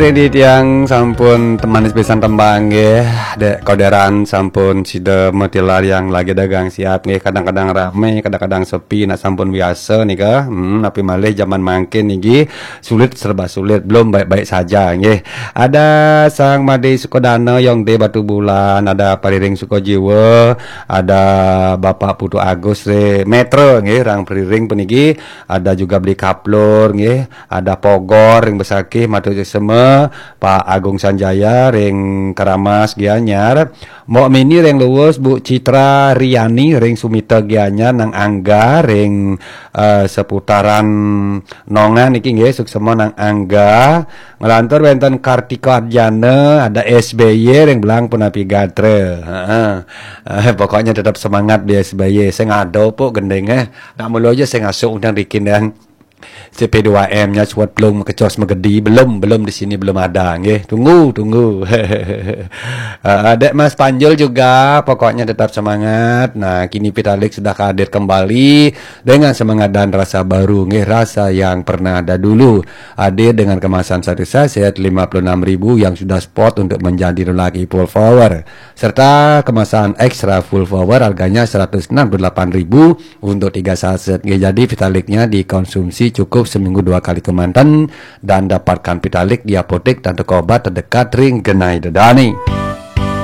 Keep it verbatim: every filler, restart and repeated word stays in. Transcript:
Ring titiang sampun temanis pisan tembang nggih. Dek Koderan sampun sida matilar yang lagi dagang siap nggih. Kadang-kadang rame, kadang-kadang sepi, nak sampun biasa nika. Hmm, tapi malih zaman mangkin niki sulit, serba sulit, belum baik-baik saja nggih. Ada Sang Made Sukodana, Yong De Batu Bulan, ada Pariring Sukojiwa, ada Bapak Putu Agus ring Metro nggih, rang Pariring puniki, ada juga Beli Kaplur nggih, ada Pogor ring Besakih, matur suksema, Pak Agung Sanjaya ring Keramas Gianyar, Mbok Mini ring Luwus, Bu Citra Riani ring Sumita Gianyar, Nang Angga ring eh, seputaran Nongan niki nggih, suksema Nang Angga. Nglantur wenten Kartika Arjana, ada S B Y ring Belang punapi gatra. Heeh. Eh, pokoknya tetap semangat di S B Y. Sing ada pok gending eh. Nak mulu aja sing asuk undang dikin dan C P dua M-nya suat belum kecos megedi, belum, belum di sini belum ada nggih. Tunggu, tunggu. Eh, Dek Mas Panjul juga, pokoknya tetap semangat. Nah, kini Vitalik sudah hadir kembali dengan semangat dan rasa baru nggih, rasa yang pernah ada dulu. Hadir dengan kemasan satu saset lima puluh enam ribu yang sudah spot untuk menjadi lelaki full power, serta kemasan extra full power harganya seratus enam puluh delapan ribu untuk tiga saset nggih. Jadi Vitaliknya dikonsumsi cukup seminggu dua kali kemanten dan dapatkan Vitalik di apotek dan toko obat terdekat ring genai dedani.